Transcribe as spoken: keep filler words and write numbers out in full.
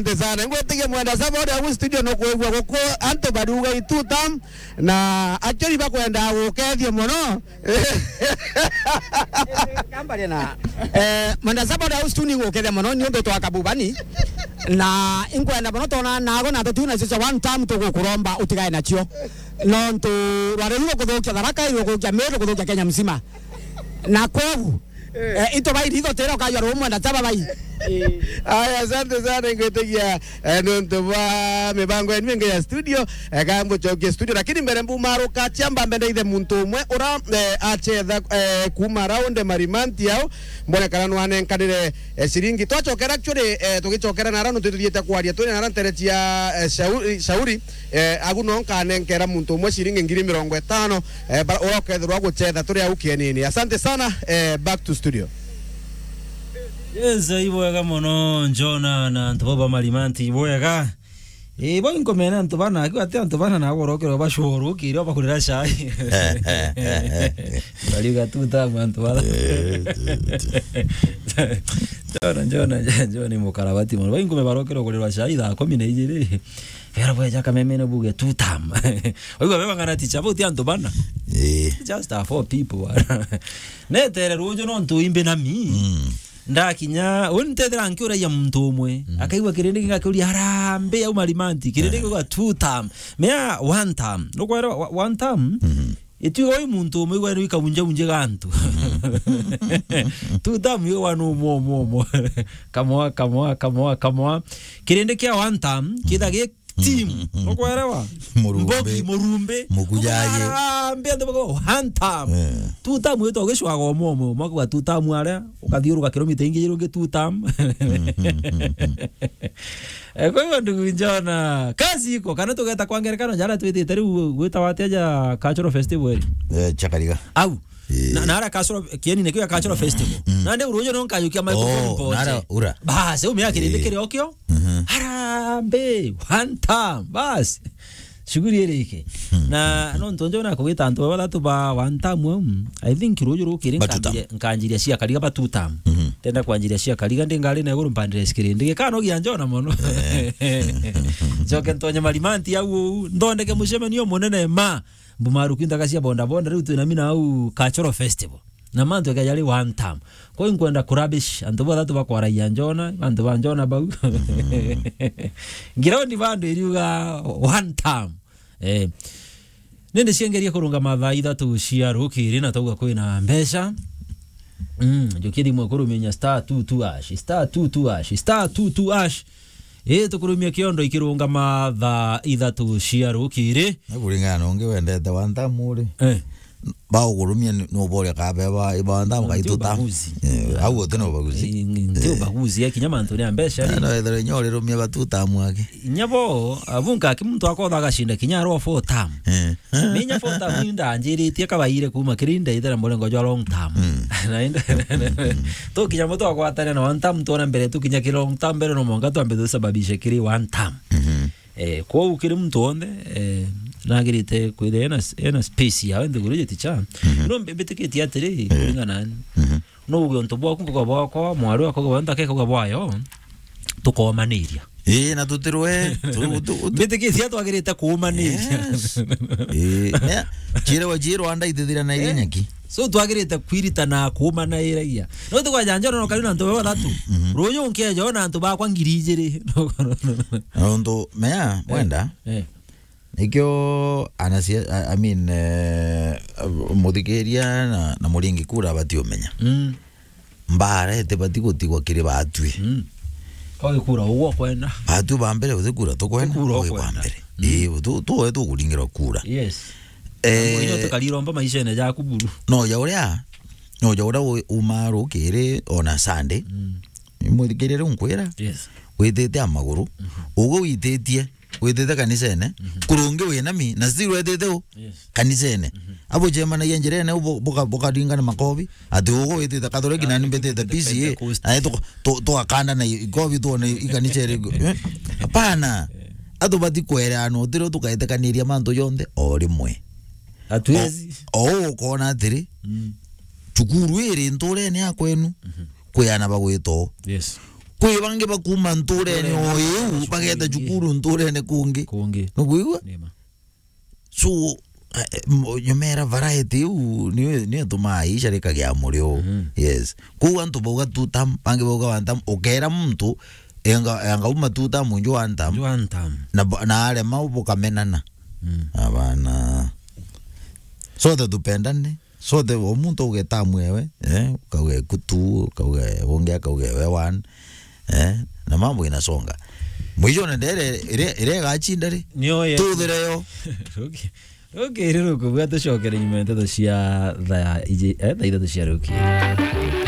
Asante sana. Ngwitikia mwenda saba uria wi studio nukwigua guku antu bariuga i two term, na actually bakwenda gukethia mono. Kambaria na, eh, mwenda saba uria wi studio ni gukethia mono ni undu twa kabubani. Na inkwenda mono tona nago na tutiu nacio cia one term tugukuromba utigae nacio. Nontu rwari ruru kuthukia Tharaka, rukuthukia Meru, rukuthukia Kenya mzima. Na kwogu, eh, into bai ritho tira ukajua rumwe na taba bai. Aya, asante sana, ngwitikia, eh, nontu bwa mibango yenu ingi ya studio, eh, ka mbucokie studio, lakini mbere mbumaruka, ciamba mbe ndaithe muntu umwe ura, eh, achetha, eh, kuma round Marimanti au, mbone kana nwanenkanire, eh, ciringi. Twacokera actually, eh, tugicokera nara nontu tuthiite kwaria, twina nara ntere cia, eh, Shauri, Shauri, eh, agu no nkanenkera muntu umwe ciringi ngiri mirongo itano, eh, bara-, uria ukethirwa guchetha turi au kienini. Asante sana, eh, back to studio. Yes, ibwega mono, Njona na antu baba Marimanti, ibwega. Eh, bo inkomena antu bana, akiwa ati antu bana na agorokero bashoro, kiri bakurira chai. Bariuga two term antu bana. Eh, tu, tu. Njona, Njona, Njona ni mukarabati mono. Bo inkome barokero kurirwa chai thaa kumi na ijiri. Wera bweja kamemene buge two term. Oigwa beba ng'ana ticha, bo ti antu bana. Eh. Just a four people bana. Netere ruju nontu imbe na mi. Mm. Ndakinya, uni ntethira nkiuragia muntu umwe. Mm. Akaigua kirindi kingakiuria, "Harambee au Marimanti?" Kirindi kiuga two term. Mea one term. Nukwera wa-, one term? Mhm. Itiuga ui muntu umwe igwa ikaunjaunje gantu. Two term yo one umwe, umwe, umwe. Kamwa, kamwa, kamwa, kamwa. Kirindi kia one term, kitha gi team. Ukwerewa? Murumbe. Mbogi, murumbe. Mukujaye. Harambee, antu bako, one term. Eh. Two term wito ugicwaga umwe umwe. Mwaka wa two term aria, ukathiuruka kilomita ingi irungi two term. Eh, kwa hivyo, ndugu Njona, kazi iko, kana tugeta kwa ngerekano, jara twitite riu gwitawa atia ja cultural festival iri? Eh, Chakariga. Au. Eh. Na, na ara cultural, kieni nikio ya cultural festival. Mm. Nandi ruju no nkajukia microphone. Oh, mpoche. Nara ura. Basi, umia kirindi kiri okio. Mhm. Harambee, one term, basi. Shughuli iri iki. Hmm. Na nontu njo na kugita antu bathatu ba one term, mm, I think ruju rukiri. Ba two term. Nkanjiria, nkanjiria cia Kariga ba two term. Mhm. Tenda kwanjiria cia Kariga, ndi ngari na iguru mpandire sikirindi. Gikano gia Njona mono. Eh. Njoke ntonye Marimanti au, nthondeke mucemanio munene ma mbumaruki ntaka cia boda boda, riu twina mina au cultural festival. Na mantu eke jari one term. Kwa hiyo nkwenda kurabish antu bathatu bakwaragia Njona, antu ba Njona bau. Ground bando iriuga one term. Eh. Nindi ciengeria kurungama thaa ithatu cia rukiri na twauga kwina mbeca. Mm, njukia thimu kurumenya star two two hash, star two two hash, star two two hash. Ii, tukurumia kiondo ikirungama thaa ithatu cia rukiri. Na kuringana na ungi wendete one term uri. Eh. Baugurumia ni, nuboria kabe ba, ba one term. Mm, kai nti two term. Ubaguzi. Eh, au uti na ubaguzi. Eh, nti ubaguzi, eh, kinya mantu ni a mbeca, eh, ri. No ethirwa inya urirumia ba two term aki. Inya bo, abunka aki muntu akotha agacinda kinya arwa four term. Eh. Ni inya four term ni ndanjiritie kabaire kuma kiri ndaithira murengo jwa long term. Mm. Na inde-, tukinya mutu agwatane na one term, tuona mbere tukinya ki long term, mbere no mwanka twambe tusababishe kiri one term. Mhm. Eh, kwou kiri muntu wonthe, eh, nagirite kwithira ena, ena space yawe nthiguru jiti cha. Mhm. No mbi-, mbitikitie atiri, eh, kuringana nani. Mhm. No uge untu bwaku, nkuga bwakwa, mwari wakwa, uge bwa nthaka, ikuga bwayo, tukomaniria. Ii, na tutirwe, tu-, tu-, tu-, mbitikitie twagirite kuumaniria. Yes. Ii, ne, chire wa chiro anda ithithira na iria nyaki. So twagirite kwirita na kuumanairagia. No tukwaja Njona no kari na antu bathatu. Mhm. Ruyu nkeja ona antu bakwa ngiri ijiri. Na untu mea, eh, mwenda, eh. Nikio anasia-, I, I mean, eh, muthikiria na, na muringi kura batiumenya. Mm. Mbara itibati gutigwa kiri batwi. Mm. Kwa kura ugwo kwenda. Batwi ba mbere uthi kura tukwenda. Kura ukwenda. Kwa mbere. Mm. Ii, tu, tu, tukuringirwa kura. Yes. Eh, tukariromba maishene jaku buru. No ja uria, no ja uria u-, uma rukiri ona Sunday. Mm. Muthikirire nkwira. Yes. Witite a maguru. Mhm. Ugu wititie witite kanisene, mhm, kurungi winami, na still witite u, yes, kanisene. Mhm. Abo jemanagia njirene, u bu-, buka-, bukaringana makobi, ati ugu witite Catholic, na ni mbitite P C A, Pentecost, na tu-, tu-, tuakanda na i-, ikobi tuone i kanisa iri, eh? Hapana. Eh. Atu bati kwereana utiro tukaetekaniria mantu jonthe o rimwe. Hatuwezi. O, o ukona atiri, mm, cukuru iri nturene ya kwenu, mhm, kwi ana bagwita o. Yes. Kwi bangi bakuma nturene o iu bageta cukuru nturene kungi. Kungi. Nukwigua? Nima. So, eh, mo- nyomera variety iu niyo niyo tumaa icarikagia murio. Mhm. Yes. Kuu antu bauga two term, bangi bauga one term, ukera muntu enga enga uma two term nju one term. Nju one term. Na bo- na arema bukamenana. Mm. Abana. Sote tupendane. Sote o muntu auge term ewe, eh, ukauge kutu, ukauge ungi akauge we one. Eh, na mambo inasonga. Mwijone ndere ire ire gachinda ri. Niyo ye. Tuthire yo. Ruki. Ruki iri rukubwa tucokere nyuma ya nteto cia thaa iji, eh, thaa ithatu cia ruki.